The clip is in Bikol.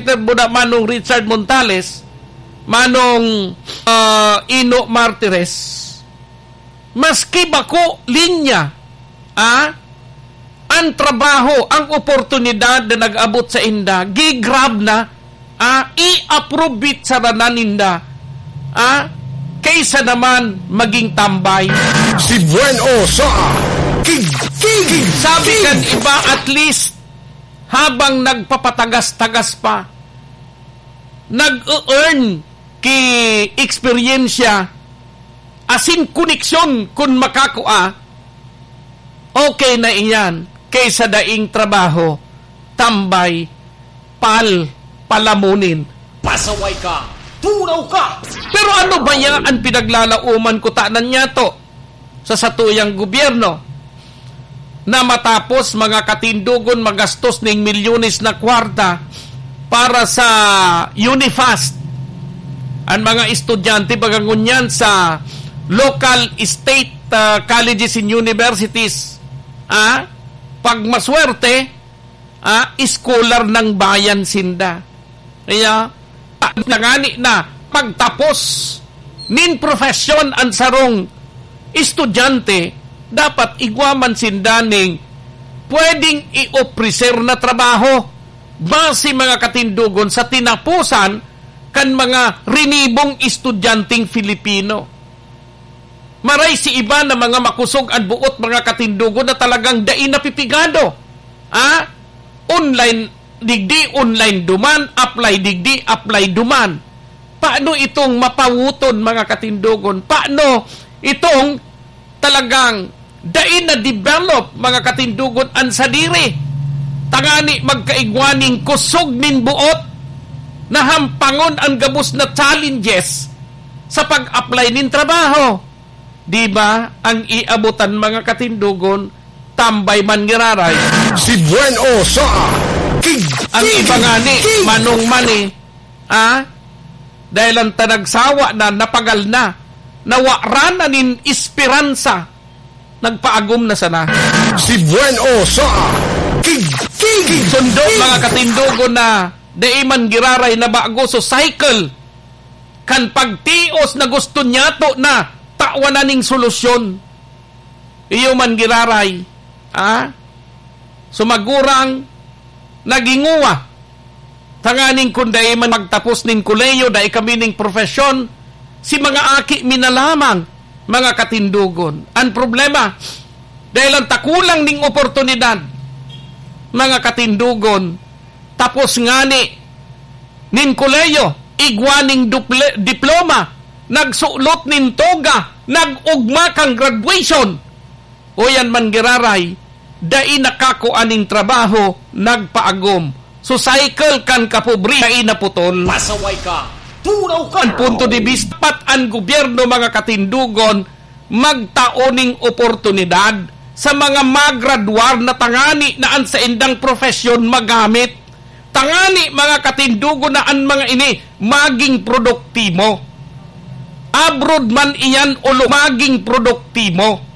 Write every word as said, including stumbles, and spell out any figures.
Buda Manong Richard Montales, Manong, ah, Ino Martires, maski bako linya, ah, ang trabaho, ang oportunidad na nag-abot sa inda, gigrab na, ah, i-approve it sa ranan ninda, ah, kaysa naman maging tambay. Si Buen O sa Kig-, Kig-, Sabi Kig-, kan iba, at least, habang nagpapatagas-tagas pa, nag-e-earn ki eksperyensya asin koneksyon kun makakua, okay na iyan kaysa daing trabaho, tambay, pal, palamunin. Pasaway ka! Tunaw ka! Pero ano ba yan ang pinaglalaoman ko tanan niya to? Sa satuyang gobyerno, na matapos mga katindogon magastos ning milyones na kwarta para sa UNIFAST. Ang mga estudyante, baga ngunyan sa local state, ah, colleges and universities, ah, pag maswerte, ah, scholar ng bayan sinda. Kaya, tangani na pagtapos nin profesyon an sarong estudyante, dapat igwa man sinda ning pwedeng i-ofrecer na trabaho. Basi, mga katindogon, sa tinaposan kan mga rinibong estudyanteng Filipino. Maray si iba na mga makusog an buot, mga katindogon, na talagang dai napipigado. Ah? Online digdi, online duman, apply digdi, apply duman. Paano itong mapawoton, mga katindogon? Paano itong talagang dai na-develop, mga katindogon, an sadiri? Tangani magkaigwa ning kusog nin buot na hampangon an gabos na challenges sa pag-apply nin trabaho. Di ba, ang iabotan, mga katindogon, tambay man giraray. Si Buen O sa Kig-, Ang Kig-, iba ngani, Kig-, manong mani, ah? Dahil ang tanagsawa na, napagal na, nawara na nin esperansa, nagpaagom na sana. Si Buen O sa Kig-, Kig-, Sundo, Kig-, mga katindogon, na dai man giraray na bago, so cycle kan pagtios na gusto niya to na tawan na ning solusyon. Iyo man giraray, ha? Sumagurang naghinguwa. Tanganing kun dai man magtapos nin kolehiyo, dai kami ning profesyon, si mga aki mi na lamang, mga katindogon. Ang problema, dahil ang takulang ning oportunidad, mga katindogon, tapos ngani nin kolehiyo, igwa ning duple-, diploma, nagsulot nin toga, nag-ugma kan graduation. O yan man giraray, dai nakakua nin trabaho, nagpaagom. So, cycle kan kapobre, dai naputol. Pasaway ka! Tunaw ka! Ang punto de vista, dapat ang gobyerno, mga katindogon, magtao ning oportunidad sa mga magradwar na tangani na an saindang profesyon magamit. Tangani, mga katindogon, na an mga ini maging produktibo. Abroad man iyan o lo-, maging produktibo.